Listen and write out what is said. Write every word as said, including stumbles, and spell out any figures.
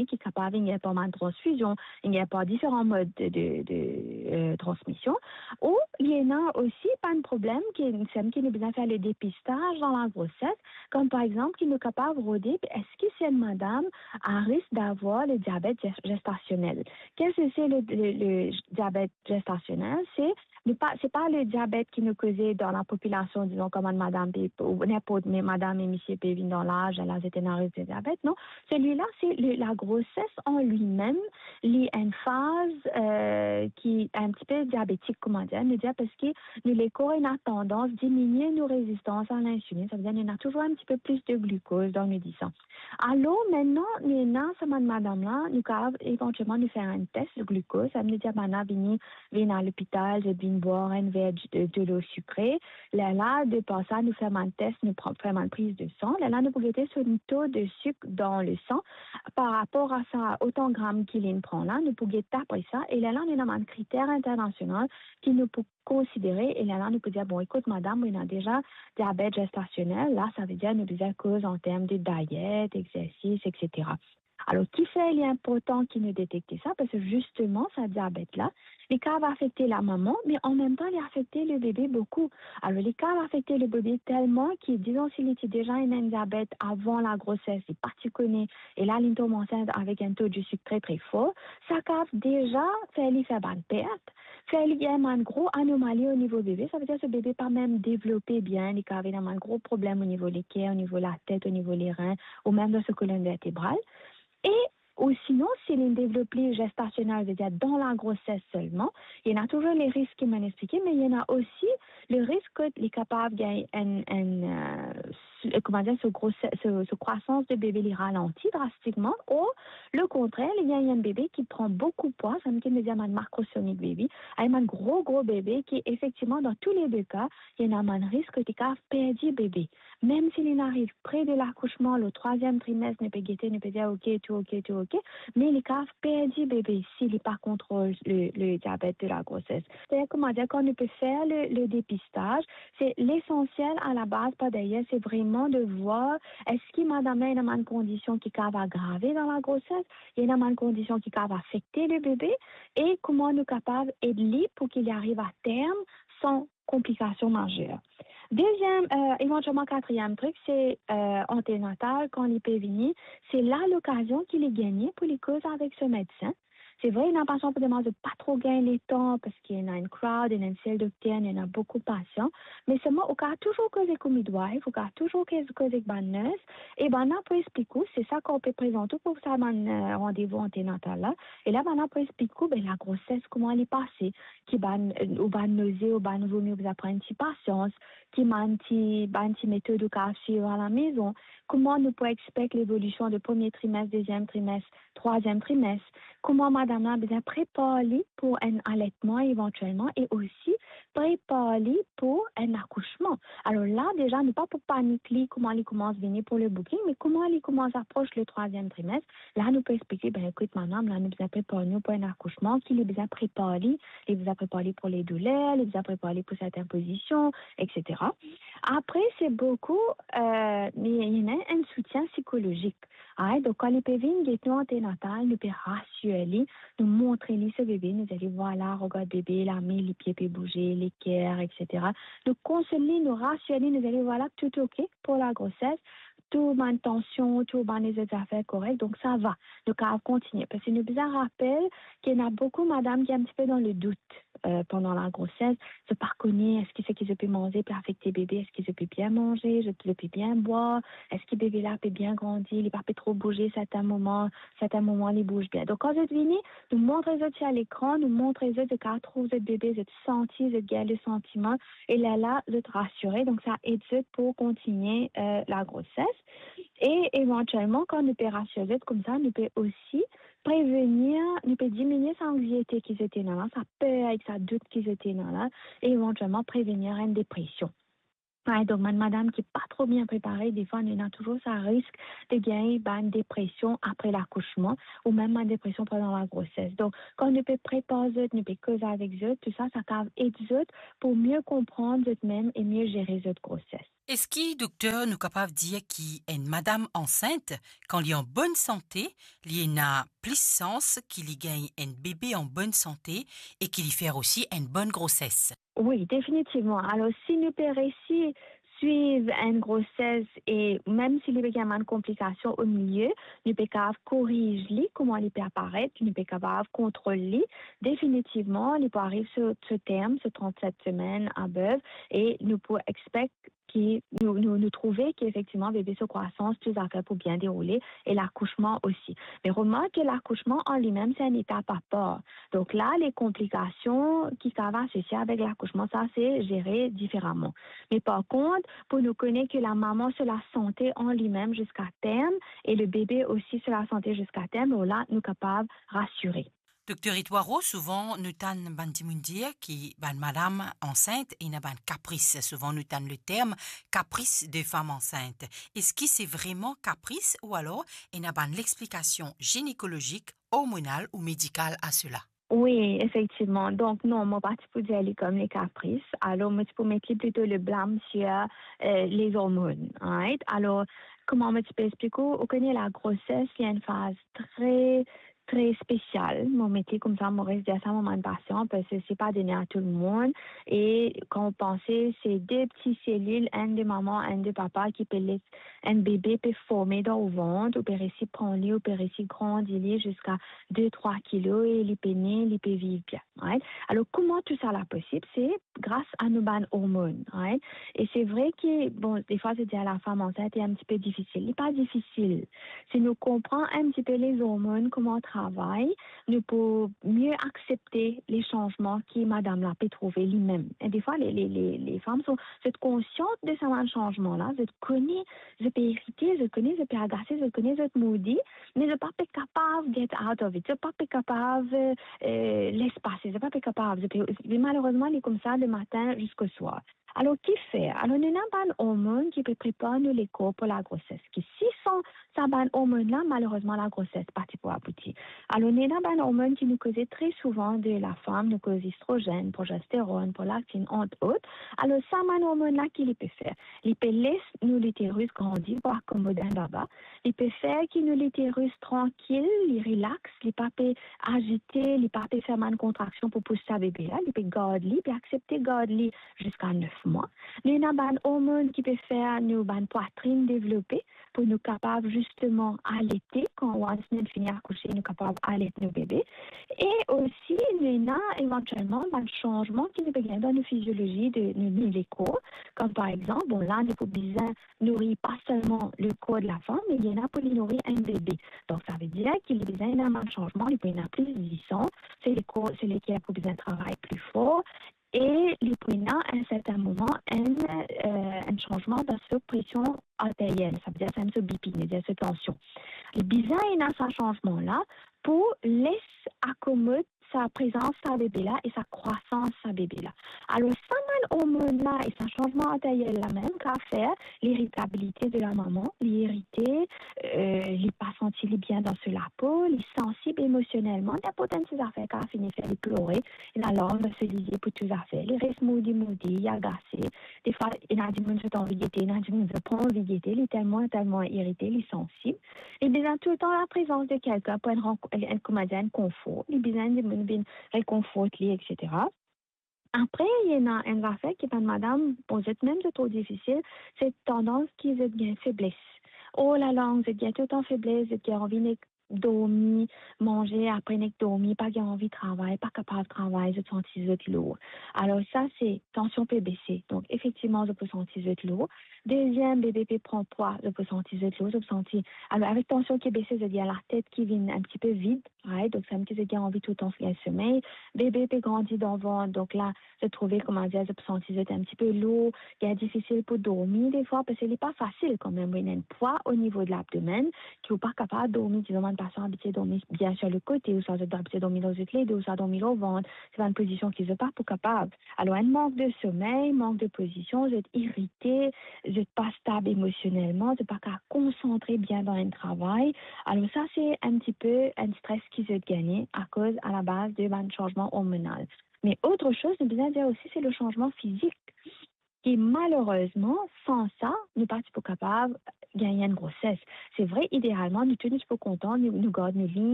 ki kapav vinn par bann transfizion, vinn par diferan mod de, de, de, eh, transmision. Ou li ena osi bann problem ki, seki nou bizin fer le depistaz dan lagroses, kom par exanp ki nou kapav rode eski se enn madam a risk d'avoir le diabet ges-, gestasionel. Qu'est-ce que c'est le, le, le diabète gestationnel? Se, nou pa, se pa le diabet ki nou koze dan lapopilasion, dizon, kom enn madam pe, ou ninport, me madam e misie pe vinn dan laz, la zot ena risk de diabet, non. Selila, se le, lagroses an limem, li enn faz, eh, ki enn tipe diabetik, kouma dir, nou dir, parski nou lekor ena tandans diminie nou rezistans a linsilinn, savedir nou ena touzour enn tipe plis de glikoz dan nou disan. Alor, mintnan, nou ena sa bann madam la, nou kapav evantielman nou fer enn tes glikoz, sa vedir bann la vini, vinn a lopital, zot vinn bwar enn ver de, delo sikre. Lerla, de par sa, nou fer bann tes, nou pran, fer bann priz de san. Lerla, nou pou gete so to de sik dan le san par rapor a sa, otan gram ki linn pran la, nou pou get apre sa. E lerla, nou ena bann kriter internasional ki nou pou konsidere, e lerla nou pou dir, bon, ekout, madam, ou ena deza diabet gestasionel, la, savedir nou bizin koz an term de dayet, exersis, etsetera. Alor, kifer li inportan ki nou detekte sa? Parski zisteman, sa diabet la, li kapav afekte lamama, me anmemtan, li afekte lebebe boukou. Alor, li kapav afekte lebebe telman ki, dizon, si li ti deza ena enn diabet avan lagroses, li pa ti kone, e la, li tom ansint avek enn to de sik tre, tre for, sa kapav deza fer li fer bann pert, fer li gagn bann gro anomali o nivo bebe, savedir so bebe pa mem devlope bien, li kapav ena bann gro problem o nivo leker, o nivo latet, o nivo lerin, ou mem dan so kolonn vertebral. E, ou sinon, si li devlop li gestasionel, savedir dan lagroses selman, ena touzour le risk ki mo'nn explike, me ena osi le risk ki li kapav gagn enn, enn, eh, s-, kouma dir, so grose-, so, so krwasans de bebe li ralanti drastikman, o le kontrer, li gagn enn bebe ki pran boukou pwa, sa vedir bann macrosomic baby, enn bann gro, gro bebe ki efektivman, dan tou le de ka, ena bann risk ki li kapav perdi bebe. Mem si li ariv pre de lakousman, le trwaziem trimes, nou pe gete, nou pe dir, ok, tou ok, tou ok, me li kapav perdi bebe si li pa kontrol le, le diabet de lagroses. Savedir, kouma dir, kan nou pe fer le, le depistaz, se lesansiel a la baz, par deryer, se vreman de vwar eski madam la ena bann kondision ki kapav agrave dan lagroses, ena bann kondision ki kapav afekte le bebe, e kouma nou kapav ed li pou ki li ariv a term san konplikasion mazer. Deziem, eh, evantielman katriem trik, se, eh, antenatal, kan li pe vini, se la lokazion ki li gagne pou li koz avek so medsin. Se vre, ena pasian pou demann zot pa tro gagn letan, parski ena enn crowd, ena enn sel dokter, ena boukou pasian, me selman ou kapav touzour koz ek ou midwife, ou kapav touzour koz, koz ek bann nurse, e bann la pou explik ou, se sa kan ou pe prezant ou pou sa bann, eh, randevou antenatal la, e la bann la pou explik ou, be, lagroses, kouma li pase, ki bann, ou bann noze, ou bann vomi, ou bizin pran enn ti pasians, ki bann ti, bann ti metod ou kapav swiv alamezon, kouma nou pou expek levolision de premie trimes, deziem trimes, trwaziem trimes, kouma madam la bizin prepar li pou enn alertman evantielman e osi prepar li pou enn akousman. Alor la, deza, nou pa pou panik li, kouma li koumans vini pou le booking, me kouma li koumans apros le trwaziem trimes, la, nou pou explike, be, ekout, madam, la, nou bizin prepar nou pou enn akousman, ki li bizin prepar li, li bizin prepar li pou le douler, li bizin prepar li pou sertin pozision, etsetera. Apre, se boukou, eh, li, li ena enn soutien sikolozik. Ay, donk, kan li pe vinn get nou antenatal, nou pe rasir li, nou montre li so bebe, nou dir li, vwala, regard bebe, lame, lipie pe bouze, leker, etsetera. Nou konsol li, nou rasir li, nou dir li, vwala, tou ok pou lagroses, tou bann tansion, tou bann lezot zafer korek, donk sa va. Nou kapav kontigne. Parski nou bizin rapel ki ena boukou madam ki enn tipe dan le dout, eh, pandan lagroses. Zot pa kone eski seki zot pe manze pe afekte bebe, eski zot pe bien manze, zot, zot pe bien bwar, eski bebe la pe bien grandi, li pa pe tro bouze sertin moman, sertin moman li bouz bien. Donk, kan zot vini, nou montre zot si lekran, nou montre zot, zot kapav trouv zot bebe, zot santi, zot gagn le santiman, e lerla, zot rasire. Donk, sa ed zot pou kontigne, eh, lagroses. E evantielman, kan nou pe rasir zot koumsa, nou pe osi prevenir, nou pe diminie sa anxiete ki zot ena la, sa per ek sa dout ki zot ena la, e evantielman prevenir enn depresion. Ay, donk, bann madam ki pa tro bien prepare, defwa nou ena touzour sa risk de gagn bann depresion apre lakousman, ou mem bann depresion pandan lagroses. Donk, kan nou pe prepar zot, nou pe koz avek zot, tou sa, sa kapav ed zot pou mie konpran zot mem e mie zere zot groses. Eski, dokter, nou kapav dir ki enn madam ansint, kan li an bonn sante, li ena plis sans ki li gagn enn bebe an bonn sante e ki li fer osi enn bonn groses? Wi, definitivman. Alor, si nou pe resi swiv enn groses e mem si li pe gagn bann konplikasion omilie, nou pe kapav koriz li, kouma li pe aparet, nou pe kapav kontrol li. Definitivman, li pou ariv so, so term, so trannset semenn above, e nou pou expect ki nou, nou, nou trouve ki efektivman bebe so krwasans, tou zafer pou bien deroule e lakousman osi. Me remark ki lakousman an limem, se enn etap apar. Donk la, le konplikasion ki kapav asosie avek lakousman, sa se zere diferaman. Me par kont, pou nou kone ki lamama so lasante an limem ziska term e le bebe osi so lasante ziska term, lor la, nou kapav rasire. Dokter Etoile Rose, souvan nou tann bann dimoun dir ki bann madam ansint ena bann kapris. Souvan nou tann le term caprice de femme enceinte. Eski se vreman kapris ou alor ena bann lexplikasion ginekolozik, ormonal ou medikal a sela? Wi, efektivman. Donk, non, mo pa ti pou dir li kom le kapris. Alor, mo ti pou met li plito le blam sir, eh, lezormonn, right? Alor, kouma mo ti pe explik ou, ou kone lagroses, li enn faz tre, tre spesial. Mo met li koumsa, mo res dir sa mo bann pasian, parski se pa done a tou lemonn. E kan ou panse, se de pti selil, enn de mama, enn de papa, ki pe les enn bebe pe forme dan ou vant, ou pe resi pran li, ou pe resi grandi li ziska de, trwa kilo e li pe ne, li pe viv bien, right? Alor, kouma tou sa la posib? Se gras a nou bann ormonn, right? E se vre ki, bon, defwa, se dir lafam ansint, se enn tipe difisil. Li pa difisil. Si nou konpran enn tipe lezormonn, kouma travay, nou pou mie aksepte le sanzman ki madam la pe trouve limem. E defwa, le, le, le, lefam, zot, zot konsian de sa bann sanzman la, zot kone zot pe irite, zot kone zot pe agase, zot kone zot moody, me zot pa pe kapav get out of it, zot pa pe kapav, eh, les pase, zot pa pe kapav, zot pe, me malerezman, li koumsa le matin ziska swar. Alor, ki fer? Alor, nou ena bann ormonn ki pe prepar nou lekor pou lagroses, ki si san sa bann ormonn la, malerezman, lagroses pa ti pou abouti. Alor, nou ena bann ormonn ki nou koze tre souvan de lafam, nou koz estrozenn, progesteronn, prolaktin, ant ot. Alor, sa bann ormonn la, ki li pe fer? Li pe les nou literis grandi pou akomod enn baba. Li pe fer ki nou literis trankil, li relax, li pa pe azite, li pa pe fer bann kontraksion pou pous sa bebe la, li pe gard li, pe aksepte gard li ziska nef mwa. Nou ena bann ormonn ki pe fer nou bann pwatrin devlope pou nou kapav zisteman alete, kan once nou fini akouse, nou kapav alet nou bebe. E osi, nou ena evantielman bann sanzman ki nou pe gagn dan nou fiziolozi de nou, nou lekor. Kom par exanp, bon, la, nou pou bizin nouri pa selman lekor de lafam, me li ena pou li nouri enn bebe. Donk, sa ve dir ki li bizin ena bann sanzman, li pou ena plis disan, se lekor, se leker pou bizin travay pli for, e li pou ena, a enn sertin moman, enn, eh, enn sanzman dan so presion arteriel, sa ve dir sa so B P, sa ve dir so tansion. Li bizin ena sa sanzman la pou les akomod sa prezans sa bebe la e sa krwasans sa bebe la. Alor, sa bann ormonn la e sa sanzman arteriel la mem kapav fer liritabilite de lamama, li irite, eh, li pa santi li bien dan so lapo, li sansib emosionelman, ninport enn ti zafer kapav fini fer li plore, ena larm dan so lizie pou tou zafer, li res moody moody, li agase. Defwa, ena dimoun zot anvi gete, ena dimoun zot pa anvi gete, li telman, telman irite, li sansib. Li bizin toultan laprezans de kelkenn pou enn rank-, enn, kouma dir, enn konfor. Li bizin dimoun vinn rekonfort li, et cetera. Apre, ena enn zafer ki bann madam, bon, zot mem, zot trouv difisil, se tandans ki zot gagn febles. Oh la la, zot gagn toultan febles, zot gagn anvi nek dormi, manze, apre nek dormi, pa gagn anvi travay, pa kapav travay, zot santi zot lour. Alor sa, se tansion pe bese. Donk, efektivman, zot pou santi zot lour. Deziem, bebe pe pran pwa, zot pou santi zot lour, zot pou santi, alor, avek tansion ki bese, zot gagn latet ki vinn enn tipe vid, right? Donk, samem ki zot gagn anvi toultan fer somey. Bebe pe grandi dan vant, donk la, zot trouve, kouma dir, zot pou santi zot enn tipe lour, gagn difisil pou dormi defwa, parski li pa fasil kanmem, wi, ena enn pwa o nivo de labdomenn, ki ou pa kapav dormi, dizon, bann pa sa abitie dormi bien sir lekote, ouswa zot abitie dormi lor zot ledo, ouswa dormi lor vant, se bann pozision ki zot pa pou kapav. Alor, enn mank de somey, mank de pozision, zot irite, zot pa stab emosionelman, zot pa kapav konsantre bien dan enn travay. Alor sa, se enn tipe enn stres ki zot gagne akoz alabaz de bann sanzman ormonal. Me ot soz, nou bizin dir osi, se le sanzman fizik. E malerezman, san sa, nou pa ti pou kapav gagn enn groses. Se vre, idealman, nou tou nou ti pou kontan, nou, nou gard nou li,